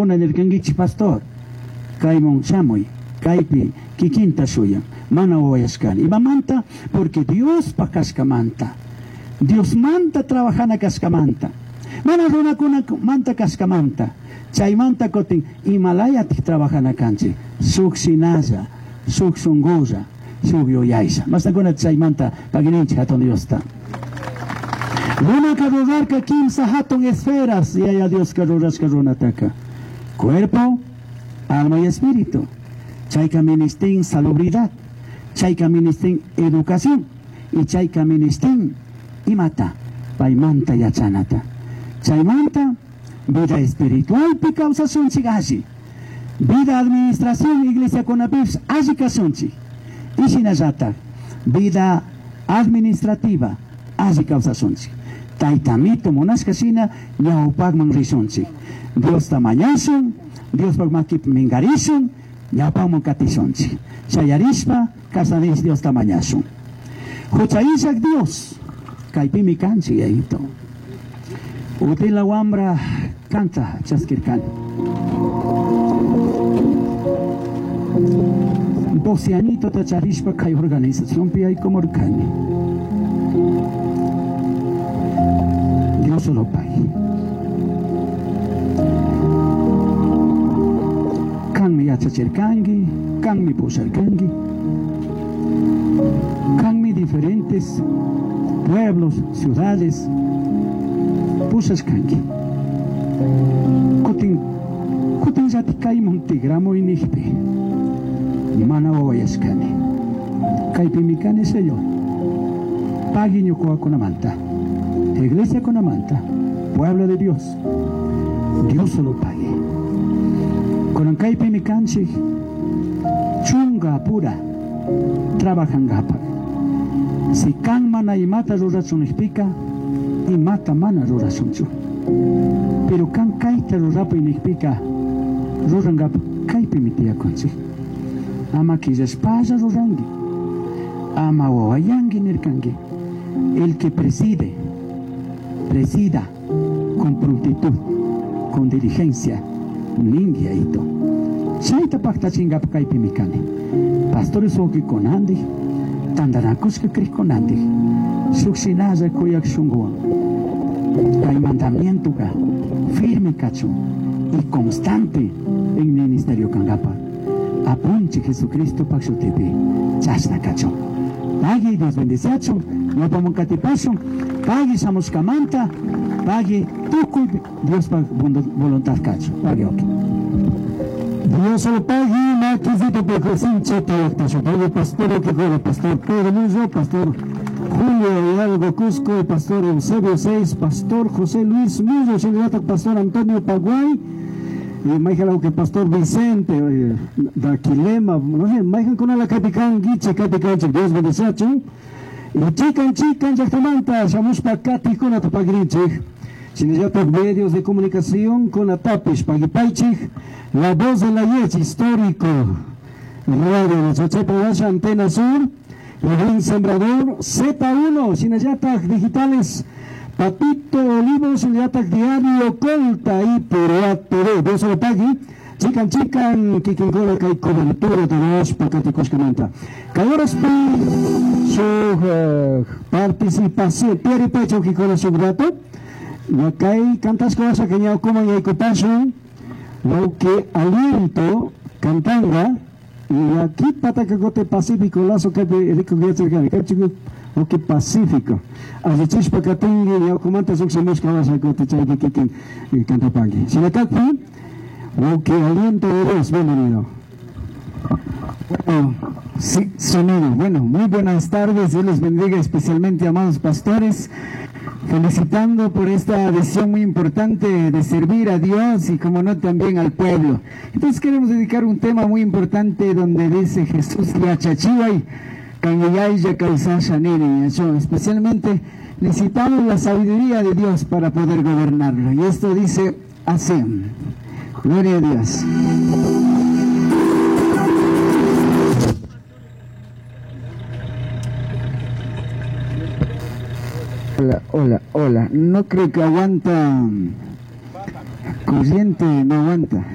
Kankuna nirkankichik pastor, kayman shamuy, kaypi kikinta shuyan, mana wawayashkani. Imamanta? Porque Diospa kashkamanta, Diosmanta trabajana kashkamanta, mana runakunamanta kashkamanta, chaymanta kutin imalayatik trabajana kanchik, shuk shinalla, shuk shunkulla, shuk yuyaylla. Mastakuna chaymanta pagininchik hatun Diosta. Runaka rurarka kimsa hatun esferas, Yaya Dioska rurashka runataka. Cuerpo, alma y espíritu. Chayka ministín salubridad, chayka ministín educación y chayka ministín imata, paymanta yachanata. Chaymanta vida espiritual pi kawsasunchik alli. Vida administración iglesia kunapipis alli kasunchik. Y shinallatak vida administrativa alli kawsasunchik. Taytamito munashka shina ñawpakman rishunchik. Diosta mañashun, Diospaq makipi minkarishun, ñawpakman katishunchik. Chayarishpa kasanish Diosta mañashun. Hucha illak Dios, kaypimi kanchik yayito. Utila wambra kanta chaskirkani. 12 añito tacharishpa kay organizacionpi aykumurkani. Dios lo pague. Kanmi yachachirkanki, kanmi pusharkanki, kanmi diferentes pueblos, ciudades pushashkanki. Kutin, kutin llati kayman tigramuy nijpi, mana wawayashkani. Kaypimi kani, Señor. Pagui ñukawakunamanta, iglesia kunamanta, pueblo de Dios. Dios lo pague. Kunan kaypimi kanchik, chunga pura trabajangapak. Si kan mana imata rurachun nijpika, imata mana rurashunchu. Pero kan kayta rurapuy nijpika, rurangapak kaypimi tiyakunchik. Ama killashpalla ruranki, ama wawayanki nirkanki. El que preside, presida con prontitud, con diligencia, ningi aito. Chayta paktachingapak kaypimi kani. Pastores wawqikunandik, tantanakushka kriqkunandik, shuk shinalla kuyak shunkuwan. Kay mandamientoka firme kachun y constante en ministerio kangapak. Apunchik Jesucristo pak shutipi, chashna kachun. Pagui Dios bendiciachun, ñawpaman katipashun, pagui shamushkamanta, pagui tukuy Diospa voluntad kachun. Pagui, ok. Dios lo pague, maquisito pecosinche, tayactasho. Pastor que fuera, pastor Pedro Muzo, pastor Julio Hidalgo Cusco, pastor Eusebio Seis, pastor José Luis Muzo, señorata pastor Antonio Paguay, y Michael que pastor Vicente, Daquilema, no sé, Michael con la capicán, Guiche, capicán, Dios bendice, y chican, chican, yactamanta, shamushpa kati con atapagrinchik. Shinallata medios de comunicación con Atapish, Paguipaichik, La Voz de la Yech, histórico, Radio de Chochepa, Antena Sur, El Buen Sembrador, Z1, Shinallata Digitales, Patito Olivo, Shinallata Diario, Colta y Perua TV. Dios lo pague. Chican, chican, kikinkola kay cobertura de los pacaticoshkamanta. Cayoraspi, su participación, Pieri Pecho, kikola su rato. Kay cantas cosas que ñau como ñai copaso, lo que aliento cantanga, y aquí patacagote pacífico, lazo que rico que cerca, que chico, o que pacífico. Así catingue, ñau como antes un semus que vas a cote chay que que canta pangui. Sinacatpi, lo que aliento de Dios, bienvenido. Bueno, sí, sonido. Bueno, muy buenas tardes, Dios les bendiga especialmente, amados pastores. Felicitando por esta decisión muy importante de servir a Dios y, como no, también al pueblo. Entonces queremos dedicar un tema muy importante donde dice Jesús yachachiway, kanyayaya kawsasha nini. Especialmente necesitamos la sabiduría de Dios para poder gobernarlo. Y esto dice así. Gloria a Dios. Hola, hola, hola. No creo que aguanta corriente, no aguanta.